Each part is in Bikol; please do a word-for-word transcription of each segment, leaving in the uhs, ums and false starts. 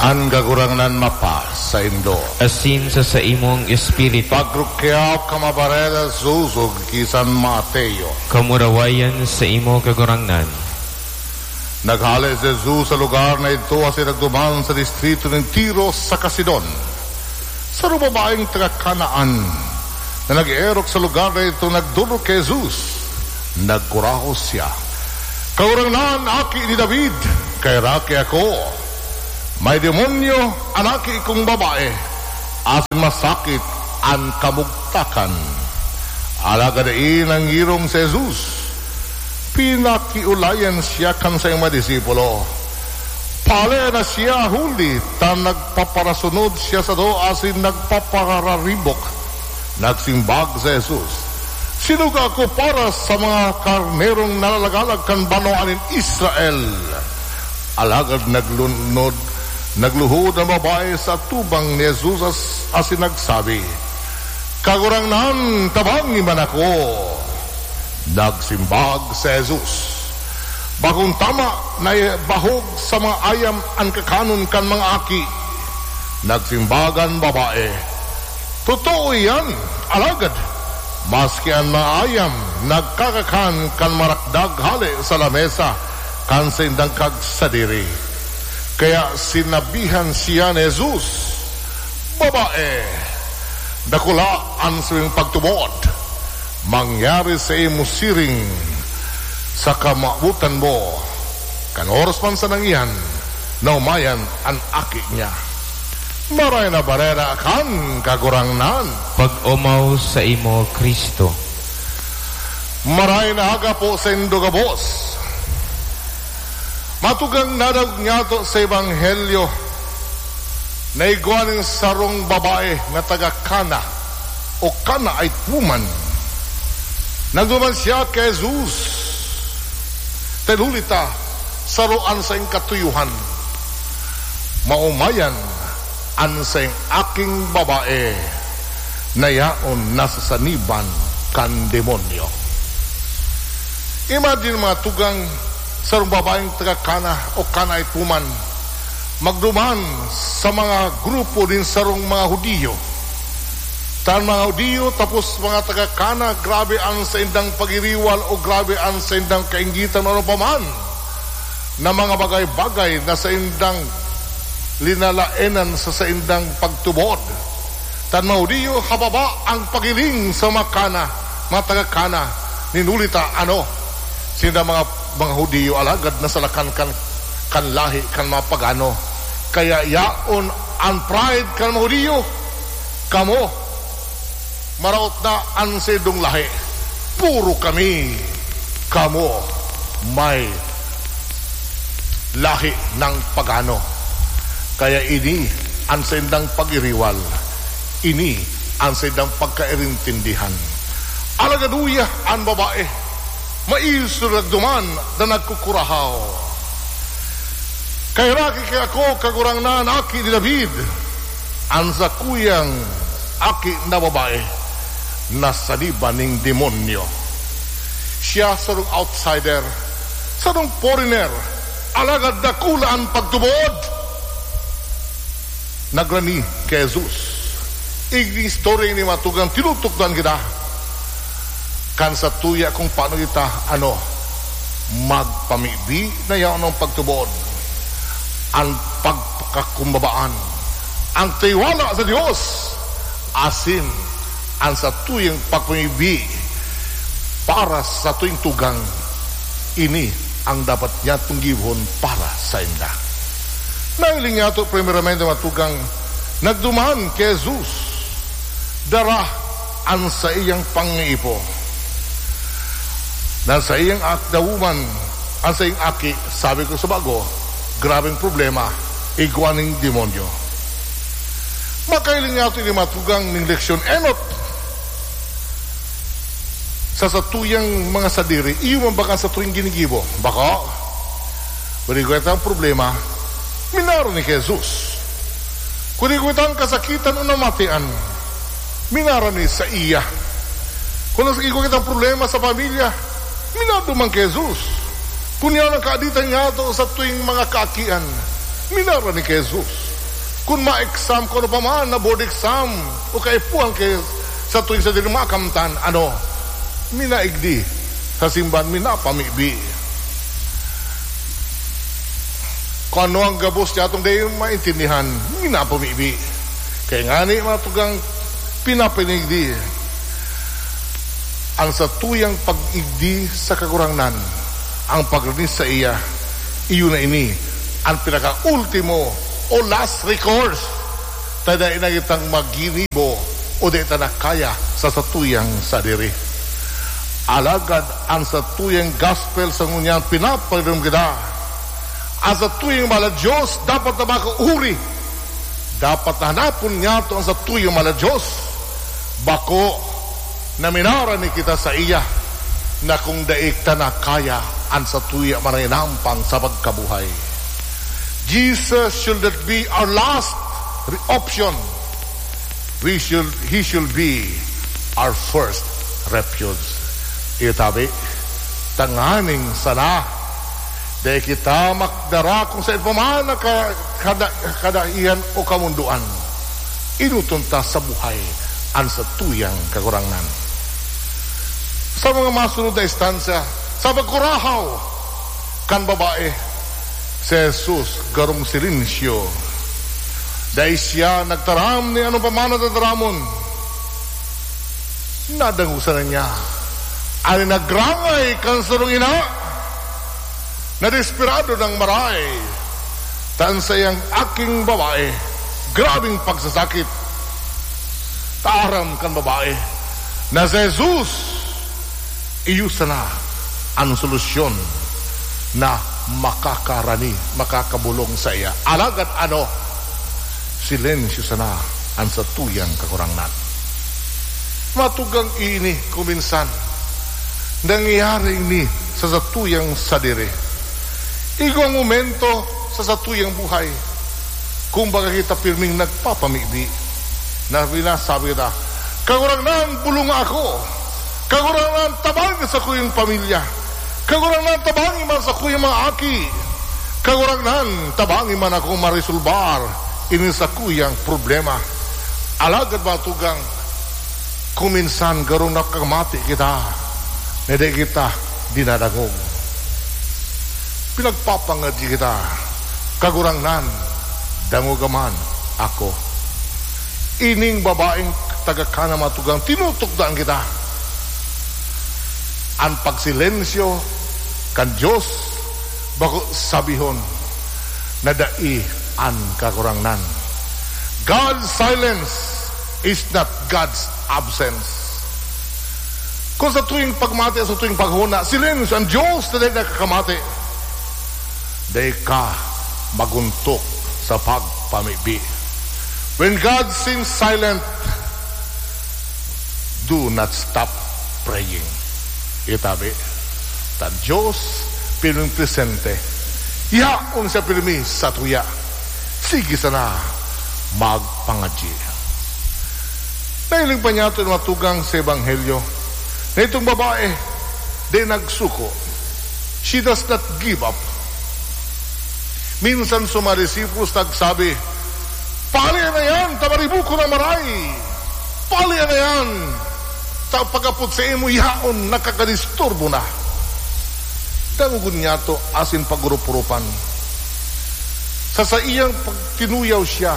An Kagurangnan mapasaindo. Asin sa saimong espiritu. Pagrukyaw ka mabareda, Zuzog, ki San Mateo. Kamurawayan sa imo, Kagurangnan. Naghale si Jesus sa lugar na idto asin nagduman sa distrito nin Tiro saka Sidon. Sarong babaeng taga Canaan na nag-eerok sa lugar na idto nagdolok ki Jesus. Nagkurahaw siya, "Kagurangnan, Aki ni David, kaheraki ako! May demonyo an aki kong babae, asin masakit an kamugtakan." Alagad dai nangirong si Jesus. Pinakiolayan siya kan saiyang mga disipulo. Pahale na siya, huli ta nagpaparasunod siya sato asin nagpapararibok. Nagsimbag si Jesus, "Sinugo ako para sa mga karnerong nalalagalag kan banwaan nin Israel." Alagad naglunod, nagluhod an babae sa atubang ni Jesus as-, asin nagsabi, "Kagurangnan, tabangi man ako." Nagsimbag si Jesus, "Bakong tama na ibahog sa mga ayam an kakanon kan mga aki." Nagsimbag an babae, "Totoo iyan, alagad maski an mga ayam nagkakakan kan marakdag hale sa lamesa kan saindang kagsadiri." Kaya sinabihan siya ni Jesus, "Babae, dakula an saimong pagtubod. Mangyari saimo siring sa kamawotan mo." Kan oras man sanang iyan, naomayan an aki niya. Marahay na Bareta kan Kagurangnan. Pag-omaw saimo, Cristo. Marahay na aga po saindo gabos. Mga tugang, nadangog niyato sa Ebanghelyo na igwa nin sarong babae na taga Cana o Canaanite woman. Nagduman siya ki Jesus. Dahil huli ta, saro an saiyang katuyohan. Maomayan an saiyang aking babae na yaon nasasaniban kan demonyo. Imagine, mga tugang, sarong babaeng taga Cana o Canaanite woman, magduman sa mga grupo nin sarong mga Hudiyo. Ta an mga Hudiyo, tapos mga taga Cana, grabe an saindang pagiriwal o grabe an saindang kainggitan o ano pa man na mga bagay-bagay na saindang linalaenan sa saindang pagtubod. Ta an mga Hudiyo, hababa ang paghiling sa mga Cana, mga taga Cana, nin huli ta, ano, sinda mga, mga Hudiyo, alagad nasalakan kan, kan lahi kan mga pagano. Kaya yaon an pride kan mga Hudiyo. Kamo, maraot na an saindong lahi. Puro kami, kamo, may lahi ng pagano. Kaya ini an saindang pagiriwal, ini an saindang pagkairintindihan. Alagad uya an babae, maisog nagduman na nagkukurahaw, "Kaheraki ki ako, Kagurangnan, Aki ni David." An sakuyang aki na babae nasaniban nin demonyo. Siya sarong outsider, sarong foreigner, alagad dakula an pagtubod. Nagrani ki Jesus. Igni istorya ini, mga tugang, tinutukdoan kita kan satuya kung paano kita, ano, magpamibi na yaon an pagtubod, an pagpakakumbabaan, an tiwala sa Dios, asin an satuyang pagpamibi para sa satuing tugang. Ini ang dapat niyatong gibohon para sainda. Nahiling niyato, primeramente, mga tugang, nagduman ki Jesus, dara an saiyang pangaipo. Na saiyang ak-, the woman, an saiyang aki, sabi ko sa bago, grabeng problema, igwa nin demonyo. Makahiling niyato ini, mga tugang, ning leksyon enot. Sa satuyang mga sadiri, iyo man ba kan satuyang ginigibo? Bako. Kun igwa kitang problema, minaro ni ki Jesus. Kun igwa kitang kasakitan o namatian, minaro ni saiya. Kun igwa kitang problema sa pamilya, minaro man ki Jesus. Kun yaon an kaaditan niyato sa satuing mga kaakian, Minara ni ki Jesus. Kun ma-exam, kun ano pa man na board exam, o kaipuhan ki satuyang sadiri, makamtan, ano, minaigdi sa simbahan, minapamibi. Kun ano ang gabos niya atong dai maintindihan, minapamibi. Kaya ngani, mga tugang, pinapanigdi. Ang satuyang pag-igdi sa Kagurangnan, ang pagrani saiya, iyo na ini an pinakaultimo o last recourse, ta dai na kitang maginibo o dai ta na kaya sa satuyang sadiri. Alagad ang satuyang gospel sa ngunyan, pinapagdom kita. Ang satuyang mahal na Diyos dapat na makauri. Dapat na hanapon niyato ang satuyang mahal na Diyos. Bako na minara ni kita saiya, na kung dai ta na kaya an satuya, maranampang sa pagkabuhay. Jesus should not be our last re-, option. We should, he should be our first refuge. Iyo tabi, tanganing sana dai kita makdara kung sa ipaman na ka-, kada-, kadaihan o kamundoan. Enoton ta sa buhay an satuyang Kagurangnan. Sa mga masunod na instansya, sa pagkurahaw kan babae, si Jesus garong silensyo. Dai siya nagtaram ni ano pa man na tataramon. Nadangog sana niya an nagrangay kan sarong ina na desperado nang maray ta an saiyang aking babae grabeng pagsasakit. Ta aram kan babae na si Jesus iyo sana an solusyon na makakarani, makakabolong saiya. Alagad ano, silensyo sana an satuyang Kagurangnan. Mga tugang, ini kuminsan nangyayari ini sa satuyang sadiri. Igwang momento sa satuyang buhay, kumbaga, kita pirming nagpapamibi, na sinasabi kita, "Kagurangnan, bolonga ako. Kagurangnan, tabangi sakuyang pamilya. Kagurangnan, tabangi man sakuyang mga aki. Kagurangnan, tabangi man ako maresolbar ini sakuyang problema." Alagad, mga tugang, kuminsan garong nakamati kita, na dai kita dinadangog. Pinagpapangadyi kita, "Kagurangnan, dangoga man ako." Ining babaeng taga Cana, mga tugang, tinutukdoan kita. An pagsilensyo kan Dios, bako sabihon na dai an Kagurangnan. God's silence is not God's absence. Kung sa tuwing pagmati, sa tuwing paghona, silensyo an Dios na dai nakakamati, dai ka maguntok sa pagpamibi. When God seems silent, do not stop praying. Itabi, ta an Dios pirming presente. Yaon siya pirmi sa tuya. Sige sana magpangadyi. Nahiling pa niyato an mga tugang sa Ebanghelyo na itong babae, di nagsuko. She does not give up. Minsan sa mga disciples nagsabi, "Pali na yan, ta maribukon na maray. Pali na yan, ta pag-apod saimo, yaon, nakakadisturbo na." Dangogon niyato asin pag-urup-urupan. Sa saiyang pagtinuyaw siya,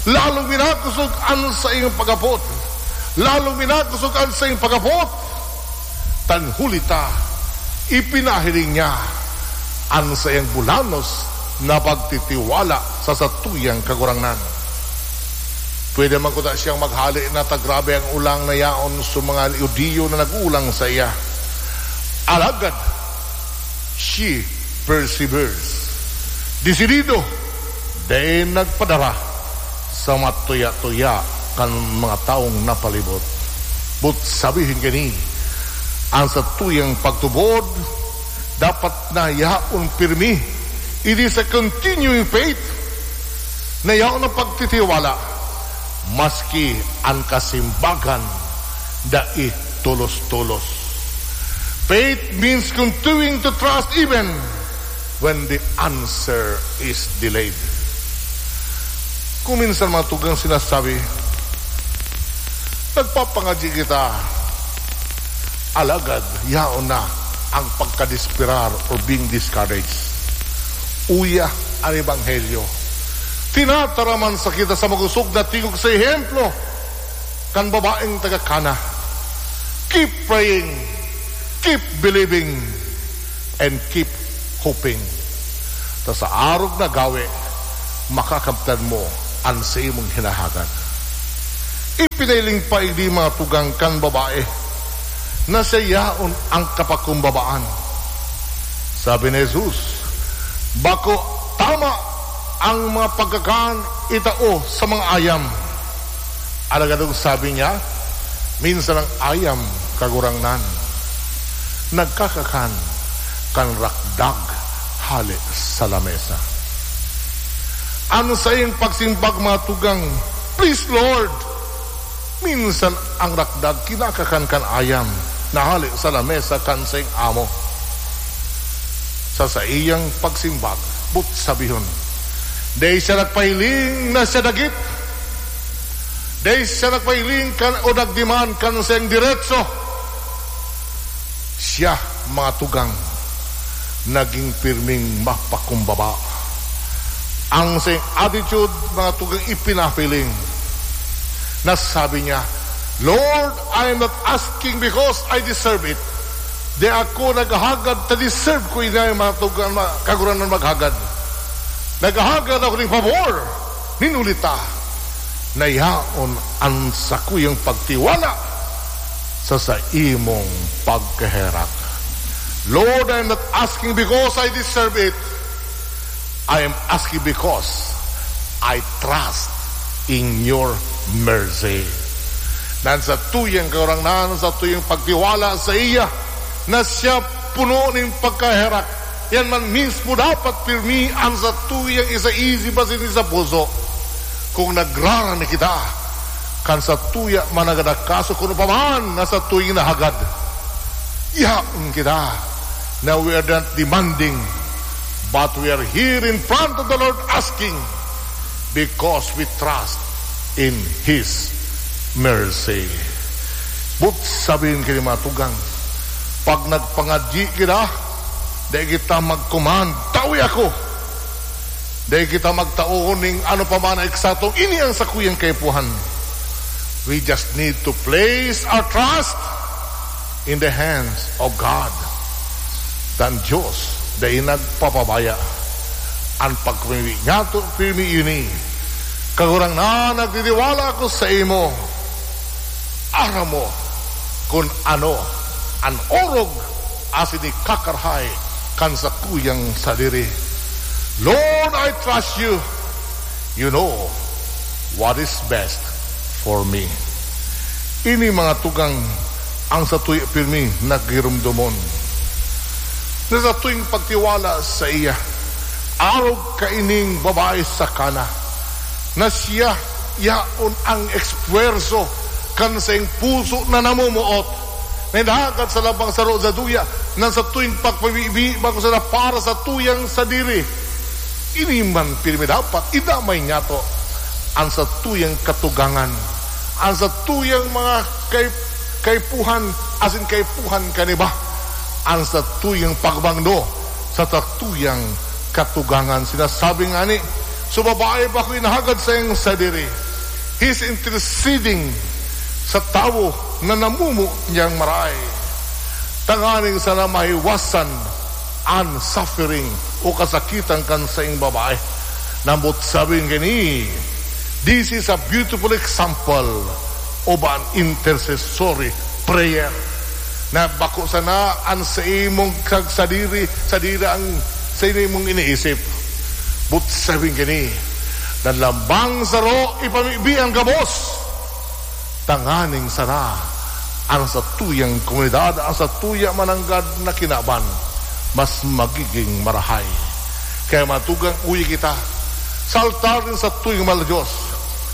lalong minakosog an saiyang pag-apod. Lalong minakosog an saiyang pag-apod. Tanghuli ta, ipinahiling niya an saiyang bulanos na pagtitiwala sa satuyang Kagurangnan. Pwede man kuta siyang maghale na ta grabe an olang na yaon sa mga Judio na nag-olang saiya. Alagad, she perseveres. Desidido, dai nagpadara sa matuya-tuya kan mga tawong napalibot. But sabihin kini, an satuyang pagtubod dapat na yaon pirmi. It is a continuing faith na yaon ang pagtitiwala, maski an kasimbagan dai tolos-tolos. Faith means continuing to trust even when the answer is delayed. Kung minsan mga tugang sinasabi, "Nagpapangadyi kita, alagad yaon na ang pagkadesperar or being discouraged." Uya an Ebanghelyo. Tinataraman sa kita sa makosog na tingog sa ehemplo kan babaeng taga Cana. Keep praying, keep believing, and keep hoping. Ta sa arog na gawe, makakamtan mo an saimong hinahagad. Ipinahiling pa ini mga tugang kan babae na siya yaon ang kapakumbabaan. Sabi ni Jesus, "Bako tama ang mga pagkakan itao sa mga ayam." Alagad ang sabi niya, minsan ang ayam, Kagurangnan, nagkakakan kan rakdag hale sa lamesa. An saiyang pagsimbag, mga tugang, "Please, Lord." Minsan ang rakdag kinakakan kan ayam na hale sa lamesa kan saiyang amo. Sa saiyang pagsimbag, but sabihon, dai siya nagpahiling na siya dagit. Dai siya nagpahiling kan o nagdemand kan saiyang diretso. Siya, mga tugang, naging pirming mapakumbaba. Ang saiyang attitude, mga tugang, ipinahiling. Na sabi niya, "Lord, I am not asking because I deserve it." Di ako naghahagad ta deserve ko ini, mga tugang, mga kagurangnan, maghagad. Naghahagad ako nin pabor, nin huli ta na yaon an sakuyang pagtiwala sa saimong pagkaherak. Lord, I am not asking because I deserve it. I am asking because I trust in your mercy. Nan sa tuyang Kagurangnan, sa tuyang pagtiwala sa iya, na siya puno nin pagkaherak. Yan man mismo dapat pirmi an sa tuyang isa isip asin isa puso. Kung nagrarani kita, kan sa tuya man nagdakaso, kung paman na sa tuyang nahagad, yaon kita na we are not demanding, but we are here in front of the Lord asking because we trust in His mercy. But sabihin kini mga tugang, pag nagpangadyi kita, dai kita mag-command, "Tawi ako." Dai kita magtao ning ano pa man na eksakto, "Ini ang sakuyang kaipuhan." We just need to place our trust in the hands of God. An Dios dai nagpapabaya. An pagpamibi niyato, pirmi ini. Kagurangnan, nagtitiwala ako sa imo. Aram mo kun ano an orog asin ikakarahay kan sakuyang sadiri. Lord, I trust you. You know what is best for me. Ini mga tugang ang satuya pirmi nagirumdomon na sa tuwing pagtiwala sa iya, arog kaining babae sa Cana, na siya yaon ang espuwerso kan saiyang puso na namumuot, na inahagad sa labang saro sa duya, na sa tuwing pagpabibi, bako sana para sa tuyang sadiri. Ini man pirmi dapat idamay niyato an satuyang katugangan, an satuyang mga kay-, kaipuhan asin kaipuhan kan iba, an satuyang pagbangdo sa satuyang katugangan. Sinasabi ngani, so babae bako inahagad saiyang sadiri. He's interceding sa tawo na namumuot niyang marahay, tanganing sana maiwasan an suffering o kasakitan kan saing babae. Nambot sabi ngani, this is a beautiful example of an intercessory prayer, na bako sana an sa imong kag sadiri, sadiri ang sa imong iniisip. But sabi ngani, na lambang saro ipamibi ang gabos, tanganing sana ang satuyang komunidad, ang satuya mananggad na kinaban, mas magiging marahay. Kaya matugang uya kita sa altar nin satuyang mahal na Dios,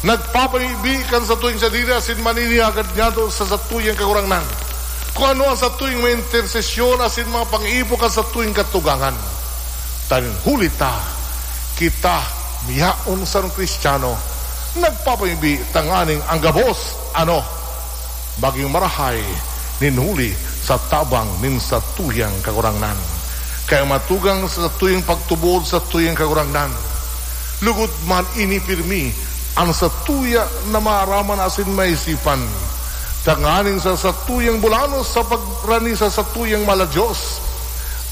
nagpapamibi kan satuyang sadiri asin maninihagad niyato sa satuyang Kagurangnan. Kung ano ang satuyang mga intersesyon asin mga pang-ipo kan satuyang katugangan. Tanganing huli ta, kita miyaon sarong Kristiyano Nagpapamibi tanganing ang gabos, ano, magin marahay nin huli sa tabang nin satuyang Kagurangnan. Kaya matugang sa satuyang pagtubod satuyang Kagurangnan. Lugod man ini pirmi an satuya na maaraman asin maisipan, tanganing sa satuyang bulanos sa pagrani sa satuyang mahal na Dios,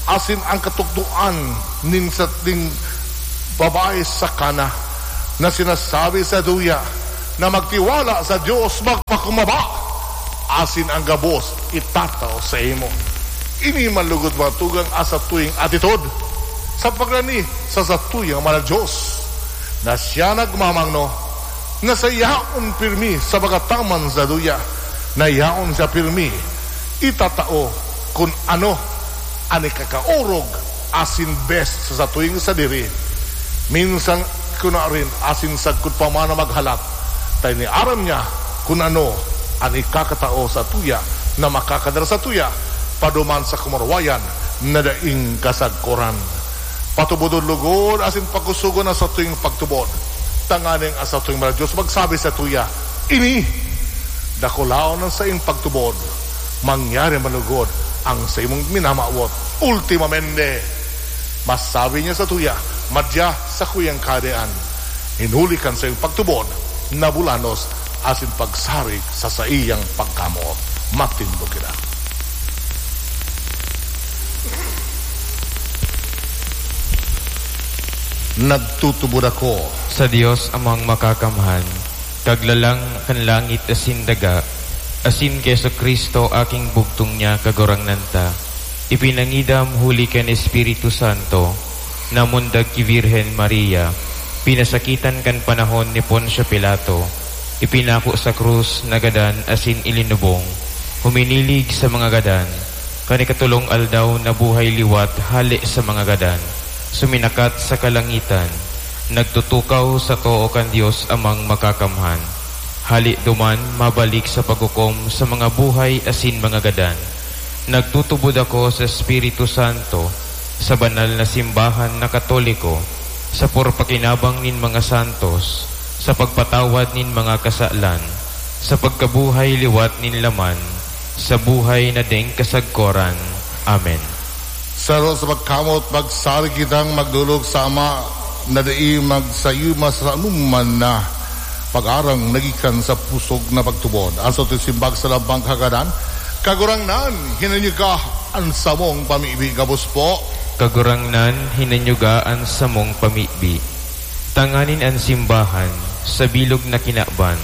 asin ang katukdoan nin sa, ning babae sa Cana na sinasabi sa duya na magtiwala sa Dios, magpakumbaba, asin ang gabos itatao saimo. Ini man lugod matugang an satuyang atitod sa pagrani sa satuyang mahal na Dios, na siya nagmamangno na sa yaon pirmi sa pagkataman sa duya, na yaon siya pirmi itatao kun ano an ikakaorog asin best sa satuyang sadiri. Minsan kunarin asin sagkod pa man na maghalat, ta ini aram niya kun ano an ikakatao satuya na makakadara satuya paduman sa kamarwayan na daing kasagkoran. Patubodon lugod asin pakusogon an satuyang pagtubod, tanganing an satuyang mahal na Dios magsabi satuya, "Ini, dakulaon an saiyang pagtubod. Mangyari man lugod an saimong minamawot." Ultimamente, masabi niya satuya, "Madya, sakuyang Kahadean, nin huli kan saiyang pagtubod na bulanos asin pagsarig sa saiyang pagkamoot." Matindog kita. Nagtutubod ako sa Dios Amang Makakamhan, Kaglalang kan langit asin daga, asin ki Jesu-Cristo, aking bugtong niya, Kagurangnan ta. Ipinangidam huli kan Espiritu Santo, namundag ki Birhen Maria, pinasakitan kan panahon ni Poncio Pilato, ipinako sa krus, nagadan asin ilinubong, huminilig sa mga gadan, kan ikatolong aldaw nabuhay liwat hale sa mga gadan, suminakat sa kalangitan, nagtutukaw sa too kan Dios Amang Makakamhan. Hale duman, mabalik sa paghukom sa mga buhay asin mga gadan. Nagtutubod ako sa Espiritu Santo, sa banal na simbahan na Katoliko, sa purpakinabang nin mga santos, sa pagpatawad nin mga kasalan, sa pagkabuhay liwat nin laman, sa buhay na daing kasagkoran. Amen. Sa haraw sa pagkamoot, magsarig kitang magdolog sa Ama na dai magsayuma sa anoman na pag-arang na gikan sa pusog na pagtubod. An satong simbag sa lambang kagadan, Kagurangnan, hinanyuga an samong pamibi, gabos po. Kagurangnan, hinanyuga an samong pamibi. Tanganing an simbahan, sa bilog na kinaban,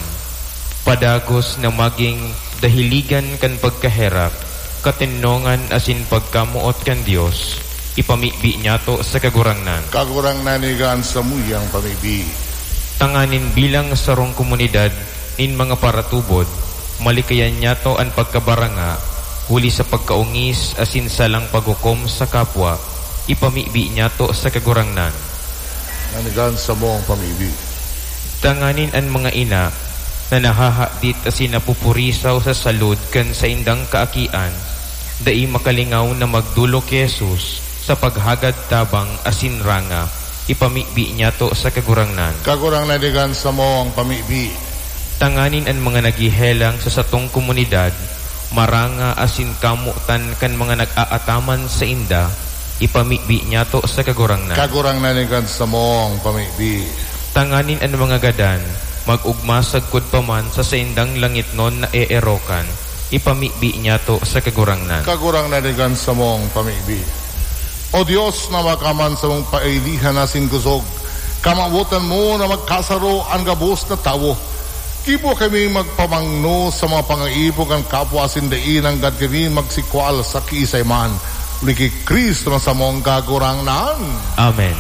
padagos na magin dahiligan kan pagkaherak, katenongan asin pagkamoot kan Dios, ipamibi niyato sa Kagurangnan. Kagurangnan, hinanyuga an samuyang pamibi. Tanganing bilang sarong komunidad nin mga paratubod, malikayan niyato an pagkabaranga, huli sa pagkaongis asin salang paghukom sa kapwa, ipamibi niyato sa Kagurangnan. Hinanyuga an samong pamibi. Tanganing an mga ina na nahahadit asin napupurisaw sa salud kan saindang kaakian, dai makalingaw na magdolog ki Jesus sa paghagad tabang asin ranga, ipamibi niyato sa Kagurangnan. Kagurangnan, hinanyuga an samong pamibi. Tanganing an mga naghehelang sa satong komunidad, maranga asin kamotan kan mga nag-aataman sainda, ipamibi niyato sa Kagurangnan. Kagurangnan, hinanyuga an samong pamibi. Tanganing an mga gadan, mag-ogma sagkod pa man sa saindang langitnon na eerokan, ipamibi niyato sa Kagurangnan. Kagurangnan, hinanyuga an samong pamibi. O Dios na makakamhan samong pailihan asin kusog, kamawotan mo na magkasaro an gabos na tawo. Gibo kami magpamangno sa mga pangaipo kan kapwa asin dai nanggad kami magsikwal sa kiisay man. Huli ki Cristo na samong Kagurangnan. Amen.